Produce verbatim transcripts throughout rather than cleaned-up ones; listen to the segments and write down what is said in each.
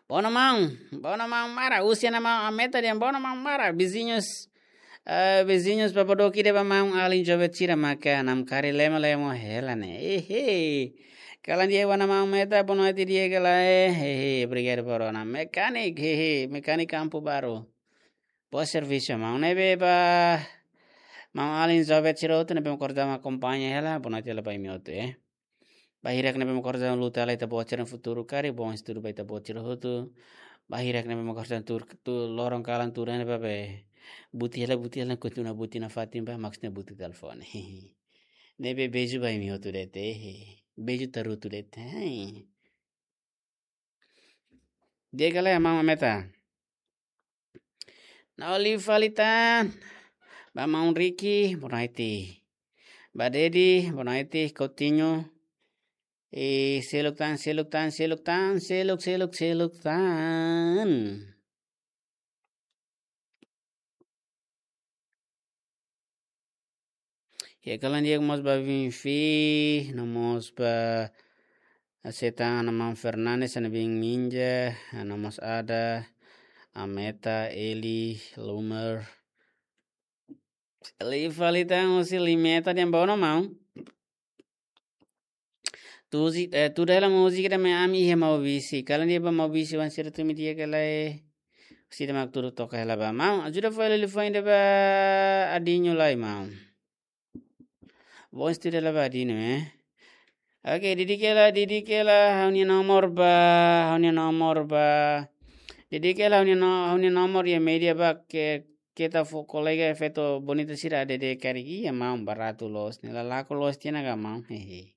Bono maun, bono maun mara, husi ona maun Ameta dehan bono maun mara, viziñus, eh, viziñus Papadoki dehan ba maun alin joven sira maka namkari lemo-lemo hela ne'e. Ehe. Kalan di'ak ba ona maun Ameta, boa noite di'ak ka lae. Ehe, obrigadu por ona. Mekanik, ehe, mekanik Kampu Baru. Boa servisu, maun. Ne'ebé ba maun alin joven sira hotu ne'ebé mak kordama akompaña hela, boa noite hela ba imi hotu, eh. Ba hirak ne'ebé mak kordama luta hela ita-boot sira-nia futuru karik, bom estudu ba ita-boot sira hotu. Ba hirak ne'ebé mak kordama tuur, tuur loron kalan tuur ne'ebá be buti hela, buti hela, kontinua buti nafatin ba, maksudnya buti telefone. Ne'ebé beijo ba imi hotu de'it, eh. Beijo tarutu de'it, eh. Di'ak ka lae maun Ameta. Ha'u liu fali tan. Ba maun Ricky, boa noite. Ba Dedi, boa noite, Coutinho. E seluk tan, seluk tan, seluk tan, seluk, seluk, seluk tan. Ya, kalan di'ak mós ba Vinfi, no mós ba Setan, ana maun Fernandes, ana bin Minja, no mós Ada, Ameta, Eli, Lumer. Liu fali tan husi Limeta dehan bono maun. Tuzi, eh, tuda hela múzika ida mai ami iha Maubisse. Kalan di'ak ba Maubisse, oan sira tun imi di'ak ka lae. Sira mak tuur toka hela ba. Maun, ajuda fó hela liafuan ida ba Adinho lai, maun. Bom estudu hela ba Adinho, eh. Oke, didik hela, didik hela, ha'u-nia nomor ba, ha'u-nia nomor ba. Didik hela, ha'u-nia no-, ha'u-nia nomor iha média ba ke, keta fó kolega efeitu bonita sira A D D karik, iha maun, baratu loos ne'e, la laku loos tiha ona ka maun, hehe.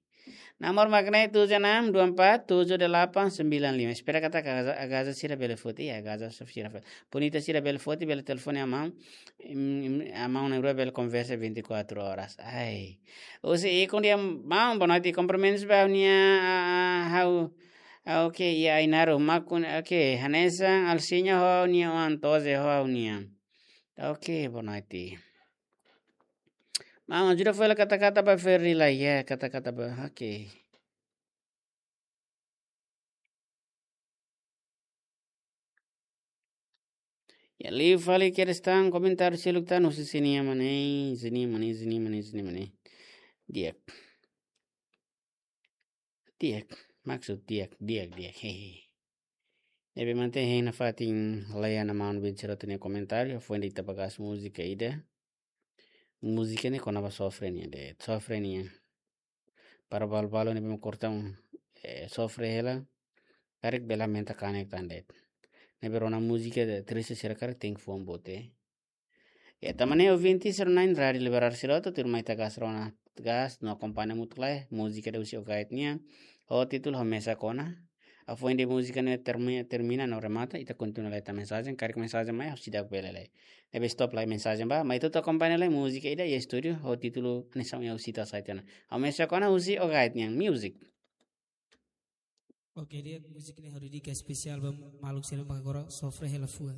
Nomor mak ne'e tujuh enam dua empat tujuh delapan sembilan lima. Espera katak agaza, agaza sira bele foti, iha agaza sira foti. Bonita sira bele foti, bele telefone iha maun. Im, im, iha maun ne'e rua bele konversa vinte e quatro horas. Ai. Husi Ikun dehan maun, boa noite, kumprimentus ba ha'u-nia, ah, ah, ha'u, ah, oke, iha Ainaro, makun, oke, hanesan Alciña ho ha'u-nia oan, Toze ho ha'u-nia. Oke, boa noite. Maun, ajuda fó hela kata-kata ba Ferry lai, ya, kata-kata ba, oke. Ya, liu fali kedas tan, komentáriu seluk tan, husi Zinia Mane, Zinia Mane, Zinia Mane, Zinia Mane. Di'ak. Di'ak, maksud di'ak, di'ak, di'ak, hehe. Ne'ebé mantén hein nafatin, lee ona maun bin sira hotu nia komentáriu, foin de'it ita bá gas múzika ida. Múzika ne'e kona-ba sofre nian de'it, sofre nian. Para balu-balu ne'ebé mak korta, eh, sofre hela. Karik bele aumenta kanek tan de'it. Ne'ebé rona múzika de triste sira karik tenke fuan boot. Ya, tanba ne'e ouvinte sira na'in Rádio Liberal sira hotu, tuirmai ita gas rona, gas no akompaña hamutuk lai, múzika ida husi Ogait nian, ho títulu Ha'u Mesak Ona. Ha'u foin de'it múzika ne'e termi-, termina no remata, ita kontinua lai ita mensajen, karik mensajen mai, ha'u seidauk bele lee. Ne'ebé stop lai mensajen ba, mai ita hotu akompaña lai múzika ida iha estúdiu, ho títulu Hanesan Oan Ha'u Sita Sai tiha ona. Ha'u Mesak Ona husi Ogait nian, music. Oke, di'ak, múzika ne'e ha'u dedika espesiál ba maluk sira mak agora sofre hela fuan.